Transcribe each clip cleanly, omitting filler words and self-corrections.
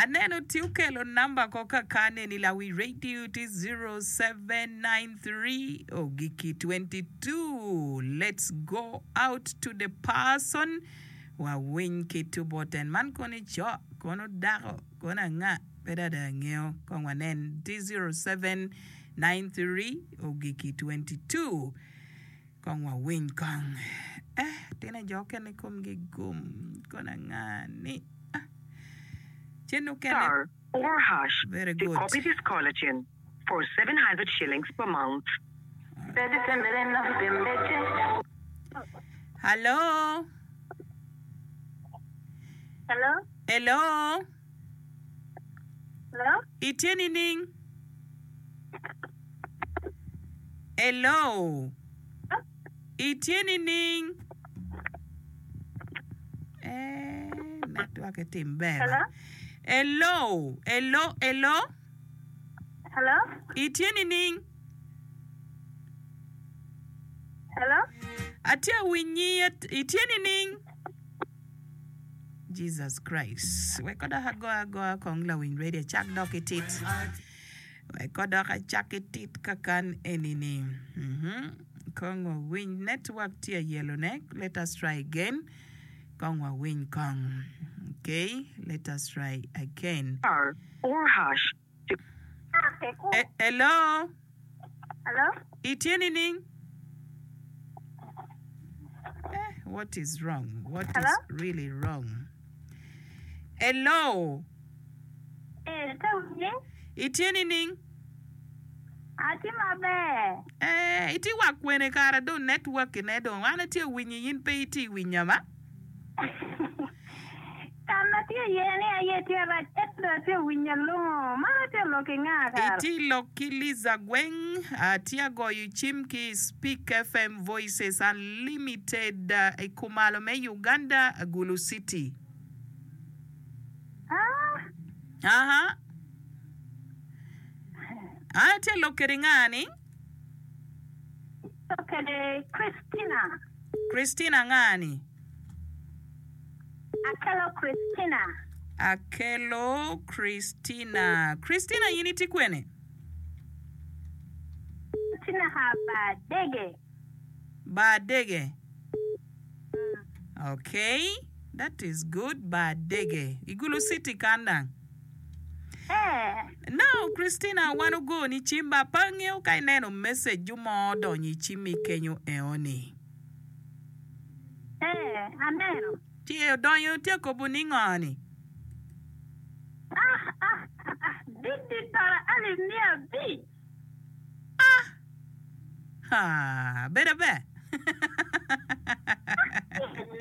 Aneno tye okelo namba ko kaka neni lawi radio tye 0793 ogiki 22 let's go out to the person wa winy ki tu bot en man kono ico kono dako kono anga pe dong ada angeyo kong wanen tye 0793 ogiki 22 Kong wawiny kong. Eh, tine jo okene komgi gum. Kono anga ni? Ah. Cen okene. Star or hash Very to good. copy this caller tune for 700 shillings per month. Hello. Hello? Hello. Hello? Itye nining? Hello. Itye nining? Eh, network etim ber. Hello? Hello. Hello, hello. Hello? Itye nining? Hello? Atye awinyi. Itye nining? Jesus Christ. Wek odok agoya agoya kong lawiny radio acak dok itit. Wek odok acak itit kakan enini. Mhm. Kong wawiny network tye ayelo ne. Let us try again. Kong wawiny kong. Okay, let us try again. Star or hash to. Eh, hello. Hello? Itye nining? Eh, what is wrong? What Hello? is really wrong? Hello. Eh, ite winye? Itye nining? Atye maber. Eh, itye wa kwene kara dong network ne dong an atye winyi in pe itye winya ba? Ka ma tye iye ni aye tye rac, ento atye winyo alongo. Man atye lok ki nga kara? Itye lok ki Liza Gweng, atye agoyo cim ki i Speak FM Voices Unlimited i kumalo me Uganda, Gulu City. Ah. Aha. An atye lok kede nga ni? Lok kede Christina. Christina nga ni? Akelo Christina. Akelo Christina. Christina in itye kwene? Atye naka bar dege. Bar dege. Okay, that is good. Bar dege. I Gulu City kan dang. Eh. Now Christina wan ogoni cim ba pe angeyo ka ineno message ju mo odonyo i cimmi kenyo eoni. Ee, aneno. Ci odonyo tye kobo ni ngo ni? Ah, ah, ah, dit dit tora alip 500. Ah! Haa, bedo aber.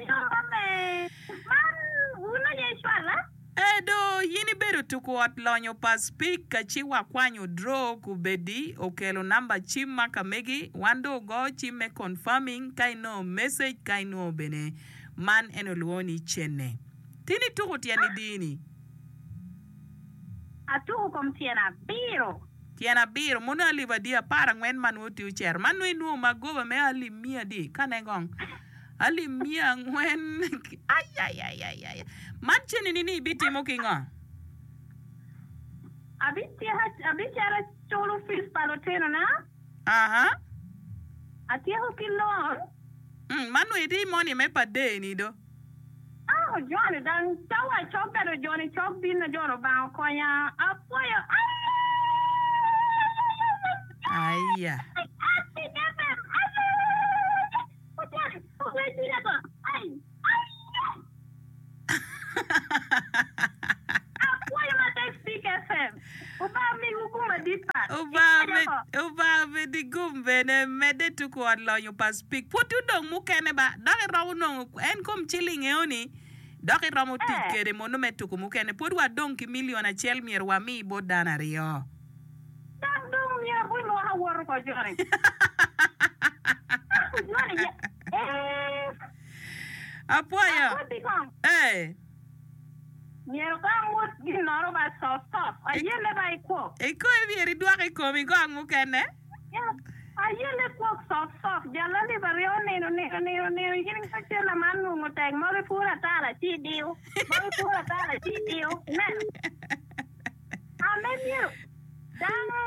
Nyo me, man wun aye icwala? Ee do, in ibedo tuku ot lonyo pa Speke ci wakwanyo draw kubedi okelo namba cim ma ka megi wan do ogo cim me confirming ka inongo message ka inongo bene man en olwongo ni cene. Tin ituku tyen idi ni? Atuku kom tyen abiro. Tyen abiro mono alip adi aparangwen ma nongo tye ocero man nongo inwongo magoba me alip miya adi ka ne kong. Alip 400 Ayayayaya! Man cenini ni ibitimo ki ngo? Abicito aculo fees pa lutinona. Aha. Atyeko ki loan. Mm, man nongo itye moni me pa day ni do. Ah, ojoni dang cawa cok bedo joni cok bino jon Lubanga okonya. Apwoyo. Aya. Obanga omedi gum bene medde tuku ot lonyo pa Speke. Pwod odong mukene ba dok iromo nongo en kom ciling eoni dok iromo tic kede mono me tuku mukene. Pwod wadong ki million acel myero wami bot dano aryo. Dok dong myero gulwok awoto ko joni. Joni ye. Eh. Apwoyo. Akoti kong. Eh. Myero kong wot ginoro ba sof sof. Ayelle ba ikwo. Ikoyi myero idwok i komi kong mukene. Yeah. Ayelle kwok cok cok, jal alip aryo nino nino nino nino in ka cella man nongo tek mogo ipuro atara ci idiyo, mogo ipuro atara ci idiyo, ineno? Ame myero dano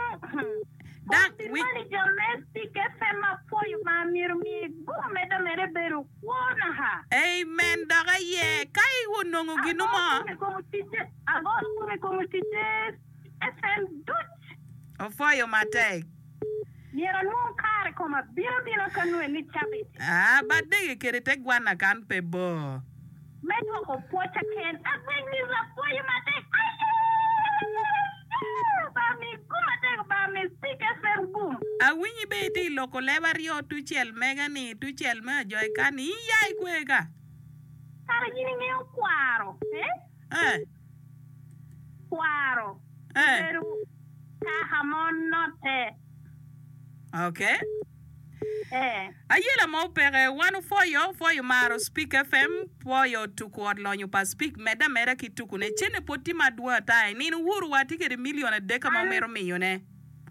Dang, kothi wi. moni jo me Speak FM apwoyo ma myero omiye gum medde ameda ebedo kwo naka. Amen dok aye ka i onongo ginu Ago mo. gum i kom oticce, ago gum i kom oticce FM duc. Opwoyo matek. Myero anwong kare koma bino abina ka nwe ni cabit. Aa, bad dege kede te gwanna kan pe bor. Me dwoko pwocca ken. Agweng ni rapwoyo matek. Aye! Ba mi gum matek ba mi Speak FM gum. Awinyi be itye i loko leb aryo tucel mega ni tucel me ajoy kan ni in ya ikwe ka. Kara in ingeyo kwaro eh? Eh. Kwaro. Eh. Obedo kaka ma onotte. Ok. Eh. Ayela mo peke, wan opwoyo, pwoyo maro Speak FM, pwoyo tuku ot lonyo pa Speak, medde ameda ki tukune. Cene pwod tye madwong ata. I nino wuru wa tye kede million adek ma An wumito miyone. An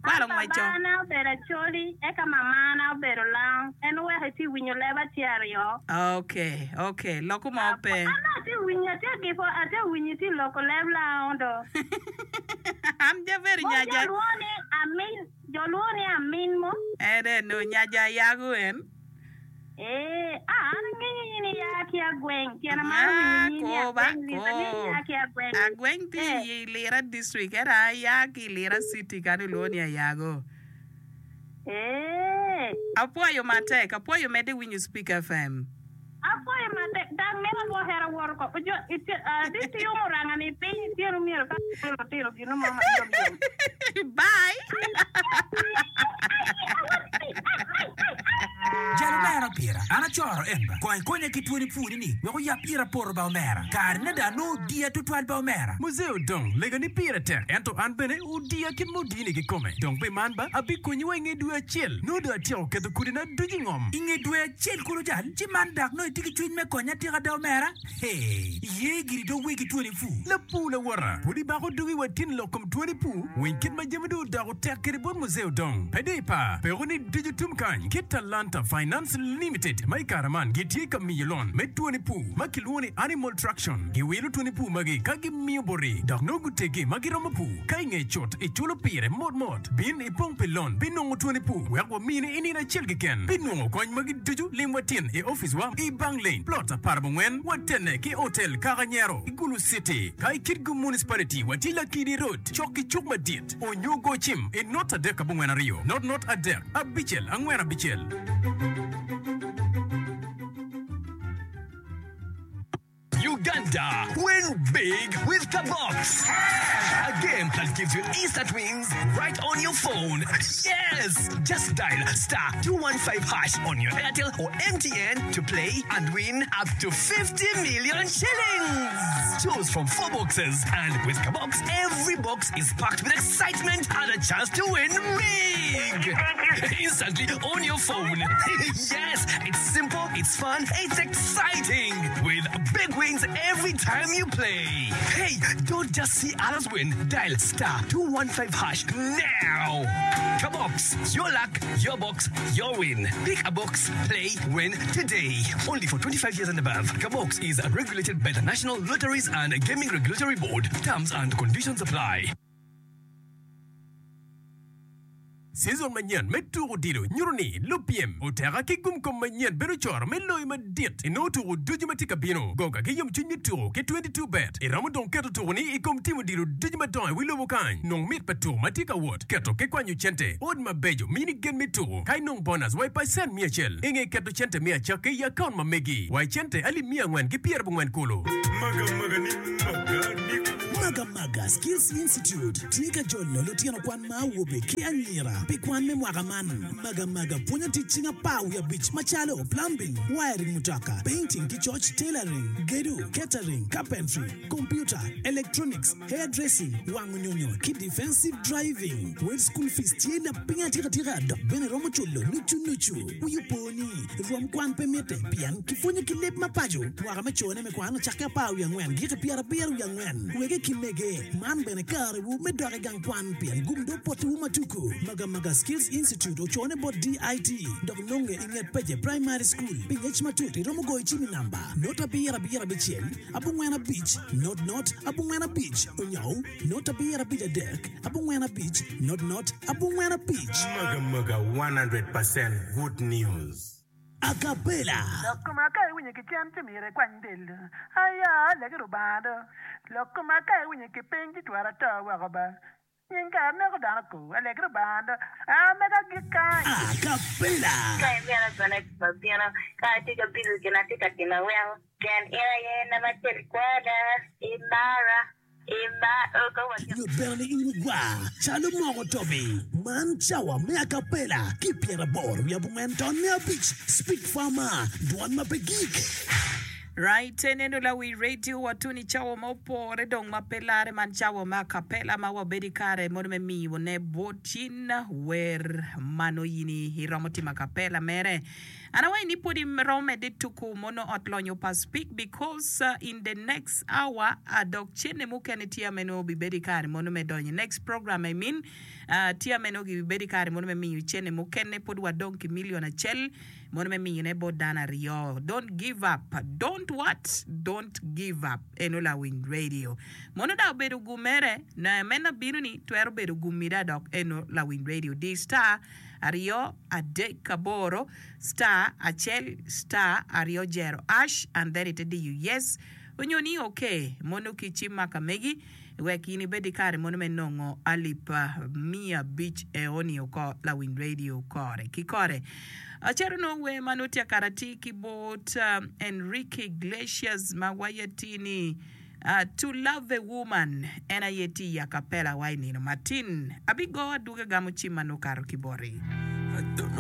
Kwalo ngweco. babana obedo Acholi, eka mamana obedo Lango. En oweko itye winyo leb atye aryo. Ok, ok, loko mo pe. An atye winyo, atye gipo, atye winyo itye loko leb Lango do. An jaber Mo nyaja. jo lwongo ni amin, jo lwongo ni amin mo. En eno nyaja yago en. Ee, a an angeyo in iya ki agweng, pien amaro winyo Ah, nying ni ko ba, agweng lit, angeyo ko. iya ki agweng. Agweng tye Eh, i Lira district, ento aya ki i Lira city kany olwongo ni Ayago. ee. Apwoyo matek, apwoyo medde winyo Speak FM. Apwoyo matek, dang mito alwokera woto ko, jo, itye, ah, ditiyo muranga ni piny ityeno myero ka lutino gino mo ma yom yom. Bye! Jal omera pira, an acoro en ba. Kong ikonya ki twoni pwoni ni wek oyab ira poto ba omera. Kare ne dong anongo odiya tutwal ba omera. Muzee Odong, lega ni pire tek, ento an bene odiya kit ma odini kikome. Dong pi man ba, abikonyi wa inge dwe acel. Nongo dong atyeko keto kodina ducu i ngom. I nge dwe acel kulu jal, ci man dok nongo itye ki cwiny me konya atika da omera? Hee, iye giri dog wegi twoni pur. Lapur lawota, pud ibako dogi wa tin lok kom twoni pur? Winy kit ma jami dong odoko tek kwede bot Muzee Odong. Pe dong ipar, peko ni ducu tum kany ki Talanta Finance Limited ma i kare man gitye ka miyo lon me twoni pur ma kilwongo ni Animal Traction. Giwilo twoni pur magi ka gimiyo boti dok nongo gutegi ma giromo pur. Ka i nge cut iculo pire mot mot, bin ipong pi lon pi nongo twoni pur wek wamini i nino acel keken. Pi nongo kony magi ducu, lim wa tin i oficwa i Bang Lane, Plot aparabongwen, watenne ki Hotel Kaka Nyero i Gulu City. Ka i Kitgum Municipality watye Lakidi Road cok ki cuk madit, onyo go cim i not adek abongwen aryo, not not adek, abicel angwen abicel. Uganda, win big with Kabox! A game that gives you instant wins right on your phone. Yes! Just dial star 215 hash on your Airtel or MTN to play and win up to 50 million shillings. Choose from four boxes, and with Kabox, every box is packed with excitement and a chance to win big. Instantly on your phone. yes, it's simple, it's fun, it's exciting. With big wins every time you play. Hey, don't just see others win. Dial star 215 hash now. Kabox, your luck, your box, your win. Pick a box, play, win today. Only for 25 years and above. Kabox is regulated by the National Lotteries and Gaming Regulatory Board. Terms and conditions apply. Cizon manyen me tuko odilo nyuto ni lupyem oteka ki gumkom manyen bedo coro me loyo madit i nongo tuko ducu ma tye ka bino. Goga ki yomcwiny me tuko ki 22 bet. Iromo dong keto tuko ni i kom tim odilo ducu madongo i wi lobo kany. Nong mit pa tuko ma tye ka wot, keto ki kwanyo cente. Ot mabeco mini gen me tuko ka inong bonus wa i pacent miya acel i nge keto cente me acakki i akaun ma megi wa i cente alip miya angwen ki pyerabongwen kulu. Magamaga Skills Institute tye ka jolo lutino kwan ma awobe ki anyira pi kwan me mwaka man. Magamaga pwonyo tic cing apar wiye abic macalo, plumbing, wiring mutoka, painting ki coc, tailoring, gedo, catering, carpentry, computer, electronics, hair dressing, wango nyonyo ki defensive driving. Wel school fees tye lapiny atika tika dok bene romo culo nucu nucu. Wi opo ni, rwom kwan pe mitte pien kipwonyo ki leb ma paco. Mwaka me cone me kwan ocakke apar wiye angwen giki pyerabiro wiye angwen. Wege ki mege. pe. Man bene karewu me dok i gang kwan pien gum dong potiwu ma tuku. Magamaga Skills Institute ocone bot DIT dok nonge i nget Pece Primary School. Pi ngec matut iromo goyo cim i namba not abiro abiro abicel abongwen abic not not abongwen abic onyo not abiro abic adek abongwen abic not not abongwen abic. Magamaga 100% good news. Acapella. Lok koma ka iwinyo ki cen ci myero ikwany del do. Aya, alegi Rubanga do. Lok koma ka iwinyo ki piny ci twero ato woko ba. Nying kara neko dano ko. Alegi Rubanga do. A mega agik kany. Acapella. Ka imito bene wabino, ka atye ka bilo gin atye ka timo aweko, pien in aye namba acel i kwona, imara. Nyut bene ni in igwar calo moko tobi. Man cawa me acapella ki pyeraboro wiye abongwen ton me abic Speak Farmer, dwon ma pe gik. Right eneno lawi radio wa tuni cawa ma opore dong ma pe lare man cawa me acapella ma wabedo ikare mono me miyo ne bot in wer ma nongo in iromo timo acapella mere. An awaco ni pwod iromo medde tuku mono ot lonyo pa speak because in the next hour dok cene mukene tye ame nongo obibedo ikare mono me donyo next program I mean tye ame nongo gibibedo ikare mono me miyo cene mukene pwod wadong ki million acel mono me miyo ne bot dano aryo don't give up don't what don't give up eno lawiny radio mono dok obedo gum mere meno bino ni twero bedo gum mida dok eno lawiny radio di star aryo adek aboro star acel star aryo jero ash and then ite diyo yes onyo ni ok mono ki cim ma ka megi wek in ibed ki kare mono me nongo alip miya abic eoni oko lawiny radio kore ki kore. Acito nongo wer ma nongo tye akara atir ki bot Enrique Iglesias ma waye tye ni To love a woman en aye tye i acapella wa i nino matin. Abigo adwogi agamo cim ma nongo okato ki boti.